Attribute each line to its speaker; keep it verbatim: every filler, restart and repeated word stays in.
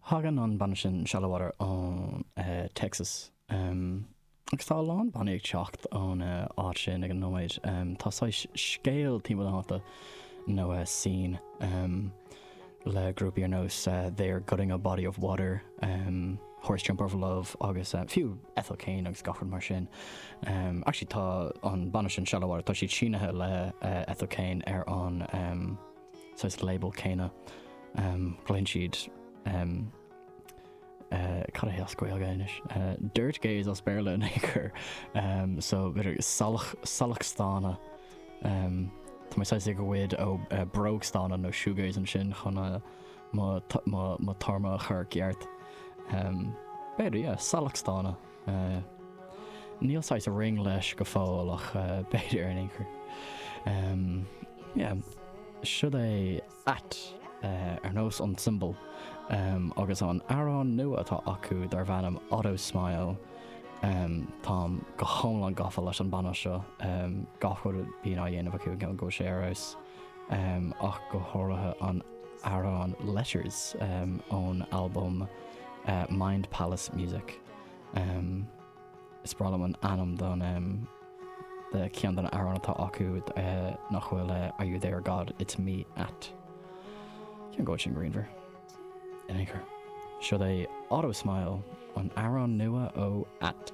Speaker 1: Tagann an banna sin Shallowater ón uh, Texas. Um, agus tá a lán bannaí ag teacht ón uh, áit sin ag an nóiméad. Um, tá saghas scéal timpeall na háite nó uh, scene um, le grúpaí ar nós uh, They're Gutting a Body of Water, um, Horse Jumper of Love agus uh, fiú Ethel Cain agus gach rud mar sin. Um, actually tá an banna sin Shallowater tá siad sínithe le uh, Ethel Cain ar an um, saghas label céanna. Um, Glaonn siad um, uh, cad é as Gaeilge anois. Uh, Dirt Gaze as Béarla in chur um, so b'fhéidir salach salachstána um, Tá mé saghas ag goid ó uh, brógstána nó shoegaze ansin chun uh, mo mo mo téarma a chur ceart. Um, B'fhéidir yeah, salachstána. Uh, Níl saghas a ring leis go fóill ach uh, b'fhéidir in aon chor. Um, yeah, Seo é at uh, ar nós an symbol um, agus an amhrán nua atá acu darb ainm Auto Smile um, Táim go hiomlán gafa leis an banna seo um, gach rud a bhíonn á dhéanamh acu go go sé arís um, ach go háirithe an amhrán Letters um, ón album uh, Mind Palace Music. Um, is breá liom an ainm don um, de ceann den amhráin atá acu uh, nach bhfuil uh, Are you there God it's me at. Ceann go sin greenver. In chur. Seo é Auto Smile an amhrán nua ó at.